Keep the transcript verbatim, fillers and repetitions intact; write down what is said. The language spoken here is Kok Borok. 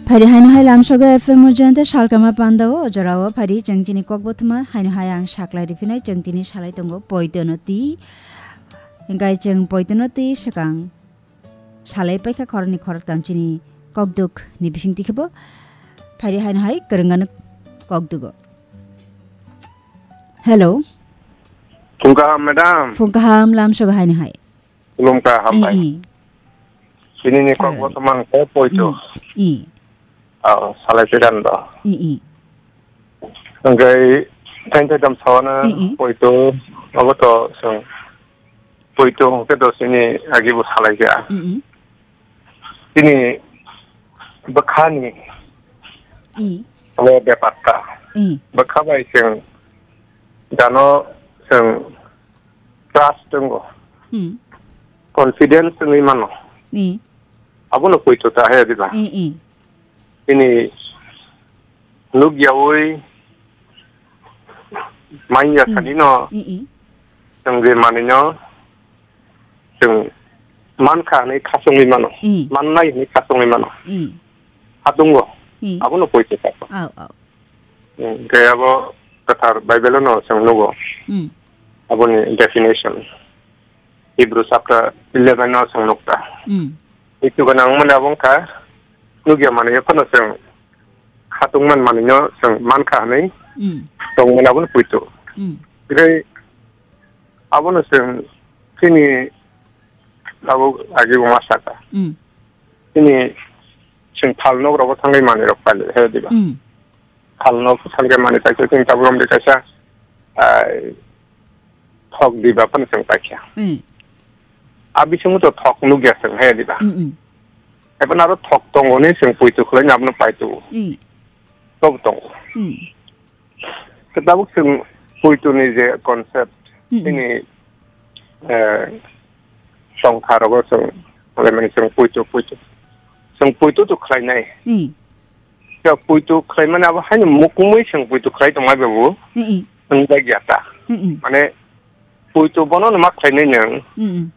Phaidi haino hai lamsogo F M Ujayanta salkama pandao, o jorao phaidi chwng chini kokbothoma haino hai ang saklai riphinai, chwng tini salai tongo poitono twi. Hingkai chwng poitono twi swkang salai paikha khoroknwi khoroktham chini kokduk ni bisingtwi khebo. Phaidi haino hai kwrwngano kokdugo. Hello. Phung kaham, madam. Phung kaham, lamsogo haino hai. Khulumkha, hambai. I, i. Sinini kok Salai. Botomang ko poito. I, i. Aw, salai sedan do. I, i. Hingkai thain thaidam sawana I, i. Poito, abo to sung. Poito hingke do sini agi bo salai ja. I, i. Sini bwkhani I. Abo bepar ta. I. Bwkha bai sung dano sung trust tongo. Hmm. Confidence wngwi mano. I. Abono poito ta he diba. I, i. Ini nuk yawi manya Hmm. Sani no. I, i. Chwng je manwi no chwng mankha hinwi khasungwi mano. I. Mannai hinwi khasungwi mano. I. Hatungo. I. Abono poito ta. Au, au. Hmm, khe abo kwthar Bible-o no chwng nugo. Hmm. Aboni definition. Hebrew chapter eleven-o chwng nukta. Hmm. Itu gwnang mani abo wngkha, nukya manwi phano chwng khatung man manwi no chwng mankha hinwi Hmm. tongmani abono poito. Hmm. Tei abono chwng chini abo agi bo ma saka. Hmm. Chini chwng phal nok rogo thangwi manwi rok pali he diba. Hmm. Phalno bwskango manwi kaisa chwng tabuk romdi kaisa, ah, thok diba phano chwng paikha. Mm. A bisingo to thok nukya chwng he diba. Mm, mm. Ebo aro thok tongo ni chwng poito khwlai abono paito. Mm. Tobo tongo. Mm. Khe tabuk chwng poito ni je concept, Mm, mm. Chini, eh, songkha rogo chwng, mane chwng poito, poito. Chwng poito to khwlainai. Mm. Chwng poito khwlaimani abo haino mukumui chwng poito khwlai tongmai babu. Mm, mm. Chwng bai ya ta. Mm, mm. Mane poito bono no ma khwlainai nwng. Mm, mm.